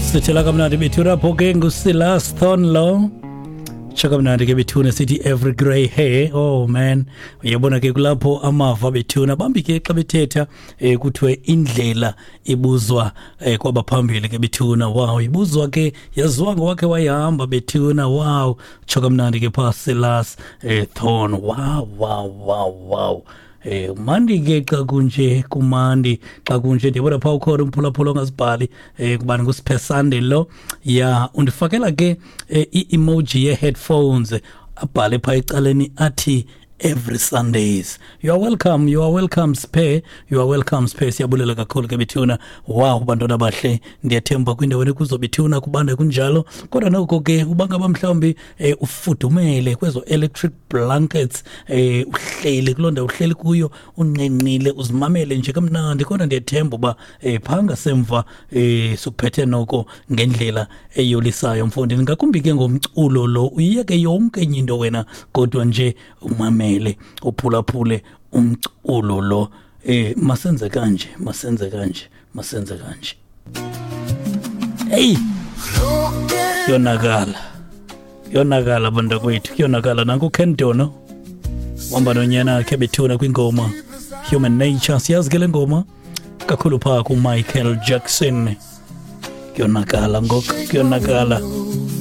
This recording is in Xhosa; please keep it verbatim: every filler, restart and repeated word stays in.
Sithela kamnandi bethuna apho ke nguSilas Thornlow. Tsho kamnandi ke bethuna sithi "Every Grey Hair". Oh man, uyabona ke kulapho amava bethuna bambi ke xa bethetha eh kuthiwe indlela ibuzwa eh kwabaphambili ke bethuna. Wow, ibuzwa ke yaziwa ngowakhe wayihamba bethuna. Wow, tsho kamnandi ke pha Silas eh Thorn. Wow, wow, wow, wow. Eh mandi ke xa kunje, kumandi xa kunje. Ndiyabona phaa ukhona umphulaphula ongazibhali eh kubani, nguSiphesande lo ya undifakela ke eh, i-emoji ye-headphones, abhale phaa ecaleni athi "every Sundays". You are welcome, you are welcome Sphe, you are welcome Sphe. Siyabulela kakhulu ke bethuna. Wow, bantwana bahle, ndiyathemba kwindawo ekuzo bethuna kubanda kunjalo, kodwa noko ke ubangaba mhlawumbi eh, ufudumele kwezo electric blankets, eh uhleli kuloo ndawo uhleli kuyo, unqenqile, uzimamele nje kamnandi, kodwa ndiyathemba uba eh phaa ngasemva eh sukuphethe noko ngendlela eyolisayo mfondini, ngakumbi ke ngomculo lo. Uyiyeke yonke enye into wena, kodwa nje umamele, uphulaphule umculo lo. eh masenze kanje, masenze kanje, masenze kanje. Hey, yonakala, yonakala bantakwethu, kuyonakala. Nanku Ken Dono wahamba nonyana wakhe bethuna kwingoma "Human Nature". Siyazi ke le ngoma kakhulu phaa kuMichael Jackson. Kuyonakala ngoku, kuyonakala.